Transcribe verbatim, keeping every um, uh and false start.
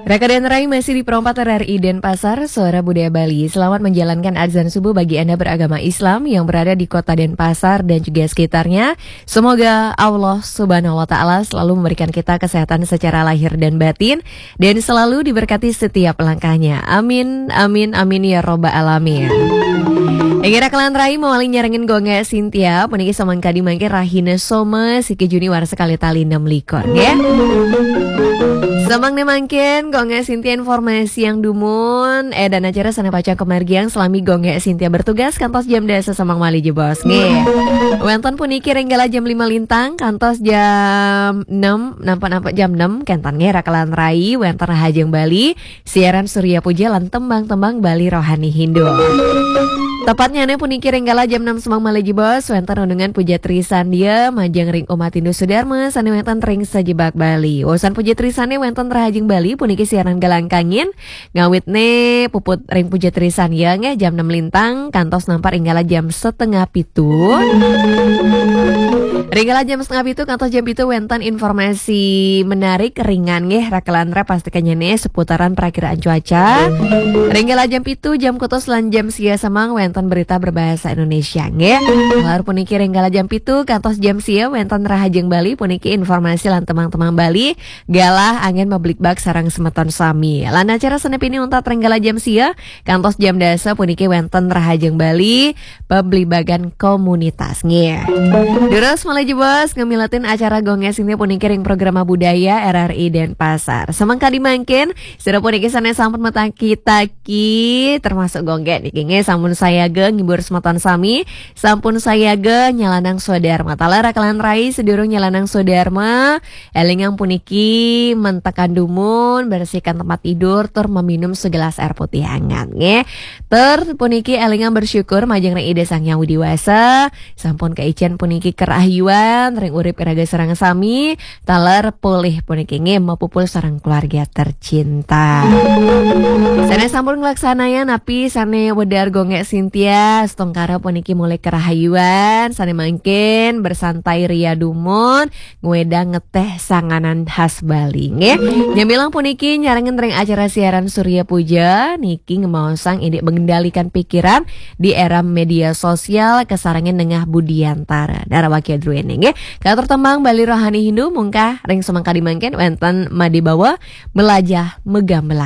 Raka dan Rai masih di Perompat R R I Denpasar, Suara Budaya Bali. Selamat menjalankan azan subuh bagi Anda beragama Islam yang berada di kota Denpasar dan juga sekitarnya. Semoga Allah Subhanahu wa Ta'ala selalu memberikan kita kesehatan secara lahir dan batin dan selalu diberkati setiap langkahnya. Amin, amin, amin ya robbal alamin. Inggih raka lan rai, mawali nyarengin Gung Sintia, puniki samangkadi mangke rahina Soma, siki Juni warsa kalih tali enam likur, nggih. Samangke mangkin, Gung Sintia informasi yang dumun, eh, dan acara sané pacang kamargiang salami Gung Sintia bertugas kantos jam dasa samangke malih jebos, nggih. Wénten puniki ring galah jam lima lintang kantos jam enam, nampak-nampak jam enam, kénten nggih raka lan rai, wénten Rahajeng Bali, siaran Surya Puja lan tembang-tembang Bali Rohani Hindu. Tepatnya nih puniki ring galah jam enam samangke malih jebos, wénten renungan Puja Trisandya majeng ring umat Hindu Sudarma sané wénten ring sajebag Bali. Wusan Puja Trisandya wénten Rahajeng Bali puniki siaran galang kangin, ngawit nih puput ring Puja Trisandya nggih jam enam lintang kantos nampak ring galah jam setengah pitu. Ring galah jam setengah pitu kantos jam pitu wénten informasi menarik ringan nggih raka lan rai, pastikannya nih seputaran perakiraan cuaca. Ring galah jam pitu, jam kutus lan jam sia samangke wénten berita berbahasa Indonesia nggih. Taler puniki ring galah jam pitu kantos jam sia wénten Rahajeng Bali puniki informasi lan tembang-tembang Bali, galah anggén mablikbak sareng semeton sami. Lan acara sané pinih untat ring galah jam sia kantos jam dasa puniki wénten Rahajeng Bali, pablibagan komunitas nggih. Durus malih jebos ngamiletin acara Gung Sintia puniki ring Programa Budaya R R I Denpasar. Samangkadi mangkin, sira puniki sané sampun mataki-taki, termasuk Gung niki nggih sampun sayaga ngibur semeton sami, sampun sayaga nyalanang swadarma. Taler raka lan rai, sedurung nyalanang swadarma, élingang puniki mentekan dumun, bersihkan tempat tidur, tur meminum segelas air putih hangat nggih. Tur puniki élingang bersyukur majeng ring Ida Sang Hyang Widi Wasa, sampun kaicén puniki kerahayuan ring urip iraga sareng sami, taler polih puniki nggih mapupul sareng keluarga tercinta. Sané sampun nglaksanayang napi sané wedar Gung Sintia, setungkara puniki mulih kerahayuan, sané mangkin bersantai ria dumun, ngwedang ngeteh sanganan khas Bali nggih. Nyamilang puniki nyarengin ring acara siaran Surya Puja niki ngemaosang indik mengendalikan pikiran di era media sosial kasarengin nengah budiantara. Dara wakia druéné nggih. Katur tembang Bali Rohani Hindu mungkah ring samangkadi mangkin wénten madibawa Melajah Megamelan.